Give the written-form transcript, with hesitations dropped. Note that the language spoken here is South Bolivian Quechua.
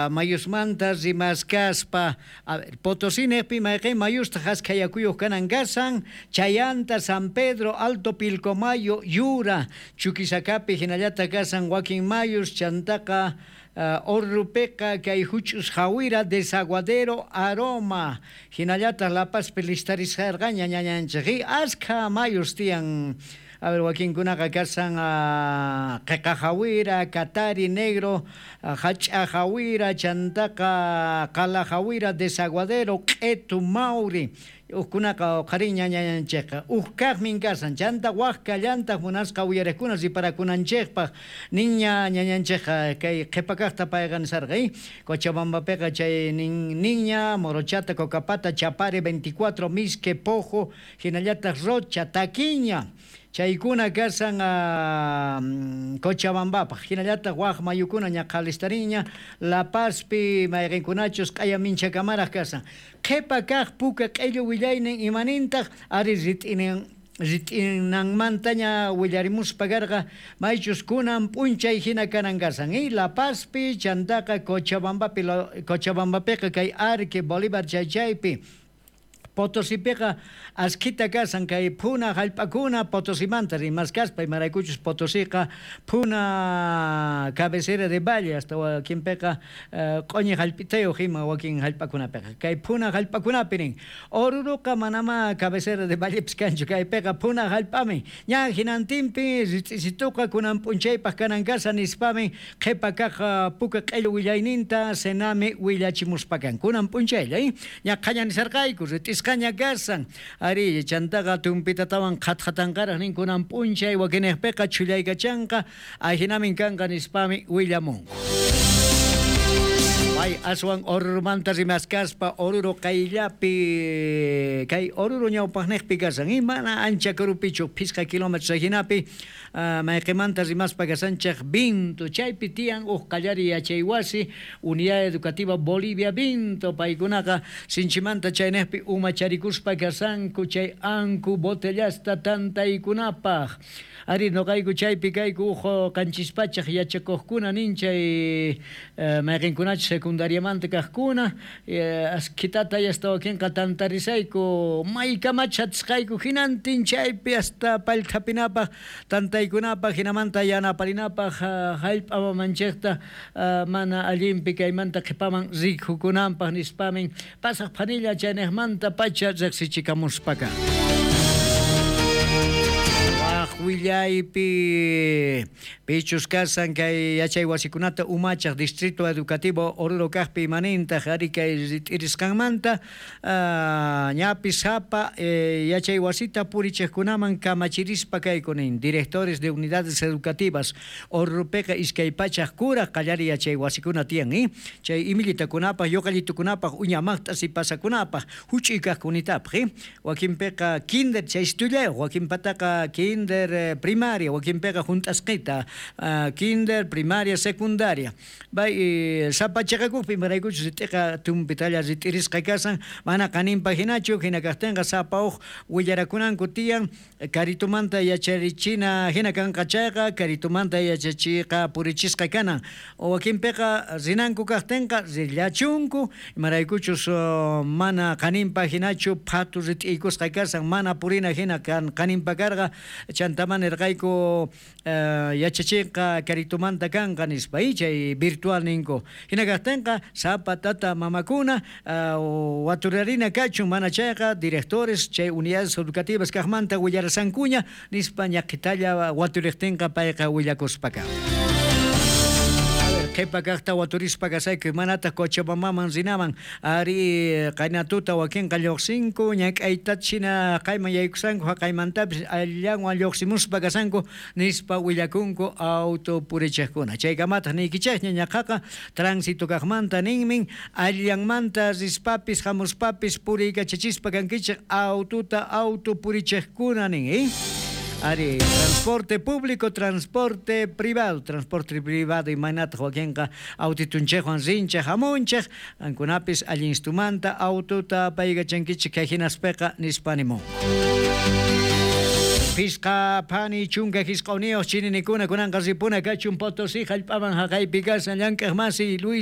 Mayusmanta rimaskaspa, a ver, Potosí nejpi mayqen mayustaq askha yakuyuq kanan kasan, Chayanta, San Pedro, Alto Pilcomayo, Yura, Chuquisacapi hinallataq kasan wakin mayus, chantaqa Orrupiqa kay huch'us Jawira, Desaguadero, Aroma, hinallataq La Pazpi listarisqarqaña ñañanchik, askha mayus tiyan. A ver, wakinkunaqa kasan Qeqa Jawira, Katari, Negro, Hach'a Jawira, chantaqa Qala Jawira, Desaguadero, Q'etu, Mauri. Ujkunaqa qhariña ñañanchikqa uj kaqmin kasan, chanta waj kallantaq munasqa uyariqkuna riparakunanchikpaq niña ñañanchikqa kay qhipa kaqta payqa nisarqa, Cochabambapiqa chay nin niña, Morochata, Cocapata, Chapare, 24, Misque, Pojo, hinallataq Rocha, Taquiña. Chaykuna kasan Cochabambapaq, hinallataq waj mayukuna ñaqa listariña, La Pazpi mayqinkunachus q'aya minchakamaraq kasan. Qhipa kaq puka q'illu willaynin imanintaq ari rit'inanmantaña willarimuspa karqa maychus kunan p'unchay hina kanan kasan. La Pazpi chantaqa Cochabambapi, Cochabambapiqa kay Arque, Bolívar chaychaypi. Potosipiqa askhita kasan kay phuna hallp'akuna Potosimanta rimaskaspa imaraykuchus Potosiqa phuna cabecera de valle hasta wakinpiqa q'uñi hallp'itayuq ima wakin hallp'akunapiqa kay phuna hallp'akunapi nin Oruruqa manama cabecera de vallepis kanchu kaypiqa phuna hallp'ami ña hinantinpi rit'isituqa kunan p'unchaypaq kanan kasa nispami qhipa kaq puka q'illu willayninta Senami willachimuspa kan kunan p'unchaylla ña qhaña nisarqayku rit'isqaña kasan ari chantaqa tumpitatawan qhatqatanqaraq nin kunan p'unchay wakinejpiqa chhullaykachanqa ajinamin kanqa nispami willamunku. Ay, aswan Orurumanta rimaskaspa Oruro qayllapi kay Oruro ñawpaqniqpi kasan mana ancha karupichu phisqa kilómetros hinapi mayqimanta rimaspa kasanchik Vinto chaypi tiyan uj qallari yachaywasi Unidad Educativa Bolivia Vinto paykunaqa sinchimanta chayniqpi umacharikuspa kasanku chay anku botellasta tantaykunapaq ari noqayku chaypi kayku uj qanchispachaq yachakuqkuna nin chay mayqinkunachus secundariamanta kaqkuna askhitata hasta wakinqa tantarisayku maykamach atisqayku hinantin chaypi hasta pallthapinapaq tantaykunapaq hinamanta yanaparinapaq hallp'a mamanchikta mana allinpi kaymanta qhipaman rikukunanpaq nispamin pasaq phanilla chayniqmanta pacha riqsichikamuspaka. Willaypi pichus kasan kay yachay wasikunata umachaq Distrito Educativo Oruro kaqpi imanintaq ari kay rit'irisqanmanta ñapi sapa yachay wasita purichiqkunaman kamachirispa kayku nin directores de unidades educativas Orurupiqa iskay pachaq kuraq qallari yachay wasikuna tiyan chay imillitakunapaq yuqallitukunapaq uñamaqta sipasakunapaq huch'uy kaqkunitapaq wakinpiqa kinder chaystullayuq wakinpataqa kinder primaria, wakinpiqa junt'asqita, kinder, primaria, secundaria. Bay sapa chiqakuqpi imaraykuchus rit'iqa tumpitalla rit'irisqa kasan, mana qaninpa hinachu, hina kaqtinqa sapa uj willarakunanku tiyan, karitumanta yacharichina hina kanqa chayqa, karitumanta yachachiqa purichisqa kanan. Wakinpiqa rinanku kaqtinqa rillachunku, imaraykuchus mana qaninpa hinachu phatu rit'iykusqa kasan, mana purina hina qaninpa karqa, chantaman nirqayku yachachiqa karitumanta kanqa nispa chay virtual ninku. Hina kaqtinqa sapa tata mamakuna waturarina kachun mana chayqa directores chay unidades educativas kaqmanta willarasankuña nispa ñaqhitalla waturiqtinqa payqa willakuspaka. Qhipa kaqta waturispa kasayku manataq Cochabambaman rinaman ari qaynatuta wakinqa lluqsinku ñak'aytachina qayman yaykusanku haqaymantapis allanwan lluqsimuspa kasanku nispa willakunku auto purichiqkuna chaykamataq niykichikña ñaqaqa tránsito kaqmanta ninmin allanmanta rispapis hamuspapis puriykachachispa kankichik aututa auto purichiqkuna nin Ari, transporte público, transporte privado imaynataq wakinqa autitunchikwan rinchik hamunchik ankunapis allinstumanta aututa apaykachankichik kay hinaspiqa nispa nimunku. Pisqa phani chunka jisq'uniyuq chininikuna kunanqa ripuna kachun Potosí jallp'aman jaqaypi kashan llank'aq masi Luis.